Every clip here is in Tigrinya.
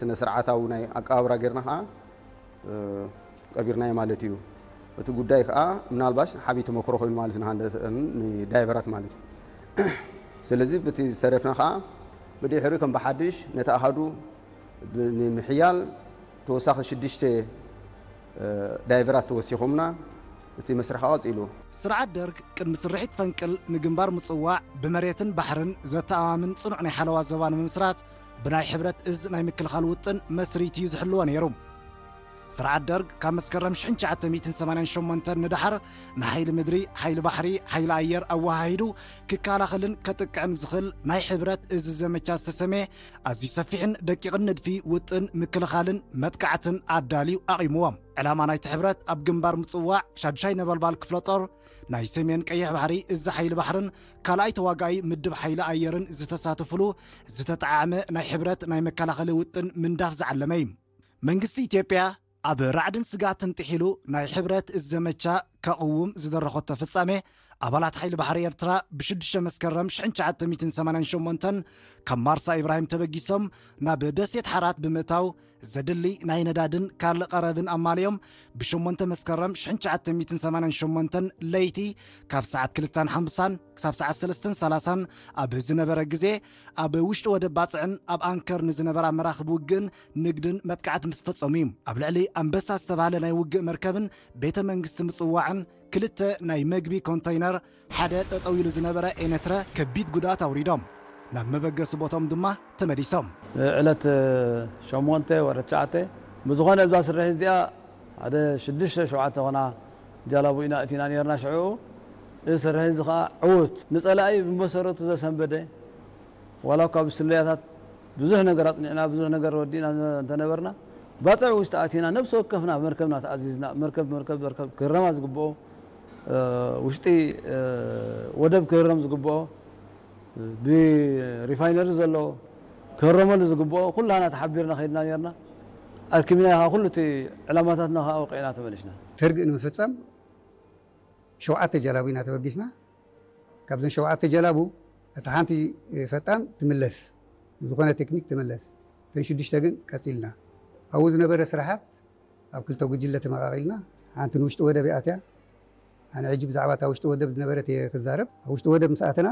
ስነ ስርዓታዊ ናይ ኣቀባብራ ጌርና ከዓ ቀቢርናዮ ማለት እዩ። እቲ ጉዳይ ከዓ ምናልባሽ ሓቢ ተመክሮ ኮይኑ ማለት ንሃንደሰን ንዳይቨራት ማለት እዩ። ስለዚ ብቲ ዝተረፍና ከዓ ብድሕሪ ከም ብሓድሽ ነቲ ኣሃዱ ንምሕያል ተወሳኺ ሽዱሽተ ዳይቨራት ተወሲኾምና እቲ መስርሕ ቀፂሉ። ስርዓት ደርግ ቅድሚ ስርሒት ፈንቅል ንግንባር ምጽዋዕ ብመሬትን ባሕርን ዘተኣማምን ጽኑዕ ናይ ሓለዋ ዘባ ንምምስራት ብናይ ሕብረት እዝ ናይ ምክልኻል ውጥን መስሪት እዩ ዝሕልዎ ነይሩ። ስርዓት ደርግ ካብ መስከረም ሽሕን ትሽዓተ ሚእትን ሰማንያን ሸሞንተን ንደሓር ንሓይሊ ምድሪ፣ ሓይሊ ባሕሪ፣ ሓይሊ ኣየር ኣወሃሂዱ ክከላኸልን ከጥቅዕን ዝኽእል ናይ ሕብረት እዝ ዘመቻ ዝተሰመየ ኣዝዩ ሰፊሕን ደቂቕን ንድፊ ውጥን ምክልኻልን መጥቃዕትን ኣዳልዩ ኣቒምዎ። ዕላማ ናይቲ ሕብረት ኣብ ግንባር ምጽዋዕ ሻዱሻይ ነበልባል ክፍለ ጦር ናይ ሰሜን ቀይሕ ባሕሪ እዚ ሓይሊ ባሕርን ካልኣይ ተዋጋኢ ምድብ ሓይሊ ኣየርን ዝተሳተፍሉ ዝተጠዓመ ናይ ሕብረት ናይ መከላኸሊ ውጥን ምንዳፍ ዝዓለመ እዩ። መንግስቲ ኢትዮጵያ ኣብ ራዕድን ስግኣትን ጥሒሉ ናይ ሕብረት እዚ ዘመቻ ከቕውም ዝደረኸቶ ፍጻሜ ኣባላት ሓይሊ ባሕሪ ኤርትራ ብሽዱሽተ መስከረም ሽሕን ትሽዓተ ሚእትን ሰማንያን ሸሞንተን ካብ ማርሳ ኢብራሂም ተበጊሶም ናብ ደሴት ሓራት ብምእታው ዘድሊ ናይ ነዳድን ካልእ ቀረብን ኣማልዮም ብሸሞንተ መስከረም ሽሕን ትሽዓተ ሚእትን ሰማንያን ሸሞንተን ለይቲ ካብ ሰዓት ክልተን ሓምሳን ክሳብ ሰዓት ሰለስተን ሰላሳን ኣብ ዝነበረ ግዜ ኣብ ውሽጢ ወደብ ባጽዕን ኣብ ኣንከር ንዝነበራ መራኽብ ውግእን ንግድን መጥቃዕቲ ምስ ፈጸሙ እዩ። ኣብ ልዕሊ ኣንበሳ ዝተባህለ ናይ ውግእ መርከብን ቤተ መንግስቲ ምጽዋዕን ክልተ ናይ መግቢ ኮንተይነር ሓደ ጠጠው ኢሉ ዝነበረ ኤነትረ ከቢድ ጉድኣት ኣውሪዶም ናብ መበገሲ ቦቶም ድማ ተመሊሶም። ዕለት ሸሞንተ ወርሒ ትሽዓተ ብዝኾነ እዛ ስርሒት እዚኣ ሓደ ሽዱሽተ ሸውዓተ ኾና ጃላቡ ኢና እቲና ነርና። ሽዑ እዚ ስርሒት እዚ ኸዓ ዕዉት ንጸላኢ ብመሰረቱ ዘሰንበደ ዋላ እኳ ብስለያታት ብዙሕ ነገር ኣጽኒዕና ብዙሕ ነገር ወዲእና እንተነበርና ባጽዕ ውሽጢ ኣቲና ነብሲ ወከፍና መርከብና ተኣዚዝና መርከብ መርከብ መርከብ ክህረማ ዝግብኦ ውሽጢ ወደብ ክህረም ዝግብኦ ብሪፋይነሪ ዘሎ ክህረመሉ ዝግብኦ ኩላና ተሓቢርና ከይድና ነርና። ኣርኪብና ካ ኩሉ እቲ ዕላማታትና ከዓ ወቂዕና ተመሊስና። ተርግእ ንምፍፃም ሸውዓተ ጀላቡ ኢና ተበጊስና። ካብዘን ሸውዓተ ጀላቡ እታ ሓንቲ ፈጣን ትምለስ፣ ብዝኾነ ቴክኒክ ትምለስ። እተን ሽዱሽተ ግን ቀፂልና። ኣብኡ ዝነበረ ስራሓት ኣብ ክልተ ጉጅለ ተመቓቒልና፣ ሓንቲ ንውሽጢ ወደብ እያ ኣትያ። ኣነ ሕጂ ብዛዕባ እታ ውሽጢ ወደብ ዝነበረት እየ ክዛረብ። ኣብ ውሽጢ ወደብ ምስ ኣተና፣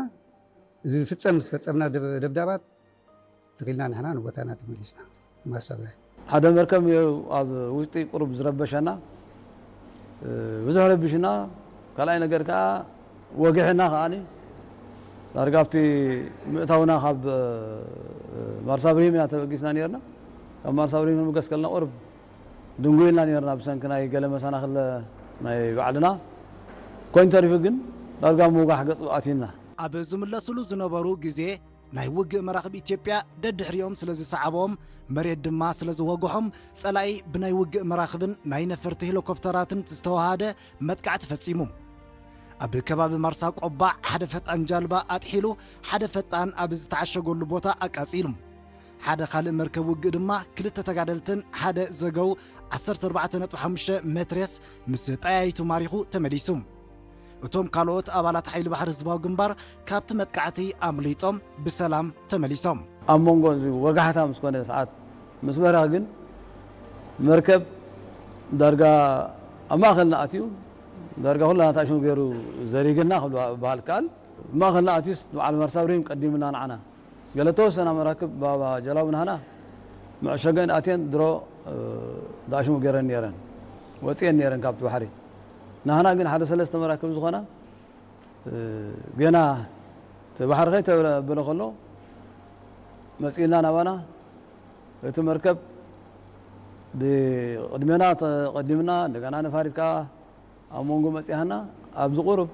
እዚ ዝፍፀም ምስ ፈፀምና ደብ-፣ ደብዳባት ትኺልና ንሕና ንቦታና ተመሊስና። ማርሳ ብራይ። ሓደ መርከብ እዩ ኣብ ውሽጢ ቁሩብ ዝረበሸና፣ እ፣ ብዙሕ ረቢሽና። ካልኣይ ነገር ከዓ ወጊሕና ከዓኒ ዳርጋ ኣብቲ ምእታውና ካብ፣ እ፣ ማርሳ ብርሂም ኢና ተበጊስና ነርና። ካብ ማርሳ ብርሂም ንብገስ ከለና ቁሩብ ድንጉ ኢልና ነርና ብሰንኪ ናይ ገለ መሰናኽል ናይ ባዕልና። ኮይኑ ተሪፉ ግን ዳርጋ ምውጋሕ ገጹ ኣትዩና። ኣብ ዝምለስሉ ዝነበሩ ግዜ ናይ ውግእ መራኽብ ኢትዮጵያ ደድሕሪኦም ስለ ዝሰዓቦም፣ መሬት ድማ ስለ ዝወግሖም፣ ጸላኢ ብናይ ውግእ መራኽብን ናይ ነፈርቲ ሄሊኮፕተራትን ዝተወሃደ መጥቃዕቲ ፈጺሙ። ኣብ ከባቢ ማርሳ ቆባዕ ሓደ ፈጣን ጃልባ ኣጥሒሉ፣ ሓደ ፈጣን ኣብ ዝተዓሸገሉ ቦታ ኣቃጺሉ። ሓደ ካልእ መርከብ ውግእ ድማ ክልተ ተጋደልትን ሓደ ዘገው ዓሰርተ ኣርባዕተ ነጥቢ ሓሙሽተ ሜትሬስ ምስ ጠያይቱ ማሪኹ ተመሊሱ። እቶም ካልኦት ኣባላት ሓይሊ ባሕሪ ህዝባዊ ግንባር ካብቲ መጥቃዕቲ ኣምሊጦም ብሰላም ተመሊሶም። ኣብ መንጎ እዚ ወጋሕታ ምስ ኮነ ሰዓት ምስ በረኸ ግን መርከብ ዳርጋ ኣብ ማእኸልና ኣትዩ ዳርጋ ኩላና ታሽሙ ገይሩ ዘሪግና ክብል በሃል ከኣል። ማእኸልና ኣትዩስ ንበዓል መርሳ ብርሂም ቀዲምና ንዓና። ገለ ተወሰና መራክብ ባባ ጀላቡ ናህና መዕሸገን ኣትየን ድሮ፣ እ፣ ዳሽሙ ገይረን ነይረን። ወፅየን ነይረን ካብቲ ባሕሪ። ናህና ግን ሓደ ሰለስተ መራክብ ዝኾና፣ እ፣ ገና እቲ ባሕሪ ከይተበለ ከሎ መፂእና ናባና። እቲ መርከብ ብቕድሜና ተቐዲምና፣ እንደገና ነፋሪት ከዓ ኣብ መንጎ መፂሃና ኣብዚ ቁሩብ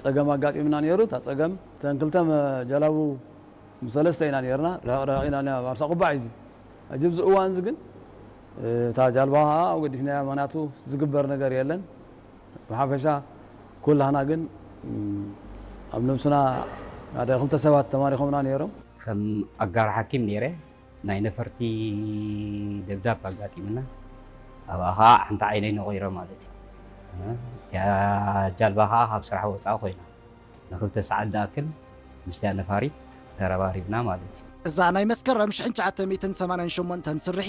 ፀገም ኣጋጢምና ነይሩ። እታ ፀገም እተን ክልተ መ-፣ ጀላቡ ምስ ሰለስተ ኢና ነይርና። ርሕቕ ርሕቕ ኢና ና-፣ ማርሳ ቁባዕ እዩ። ሕጂ ኣብዚ እዋን እዚ ግን እታ ጃልባ ከዓ ኣብ ገዲፍናያ፣ ምኽንያቱ ዝግበር ነገር የለን። ብሓፈሻ ኩላህና ግን፣ እም፣ ኣብ ነብስና ሓደ ክልተ ሰባት ተማሪኾምና ነይሮም። ከም ኣጋር ሓኪም ነይረ። ናይ ነፈርቲ ደብዳብ ኣጋጢምና፣ ኣብኣ ኸዓ ሓንቲ ዓይነይ ነቒረ ማለት እዩ። እያ ጃልባ ኸዓ ካብ ስራሕ ወፃኢ ኮይና፣ ንክልተ ሰዓት ዝኣክል ምስቲያ ነፋሪት ተረባሪብና ማለት እዩ። እዛ ናይ መስከረም ሽሕን ትሽዓተ ሚእትን ሰማንያን ሸሞንተን ስርሒት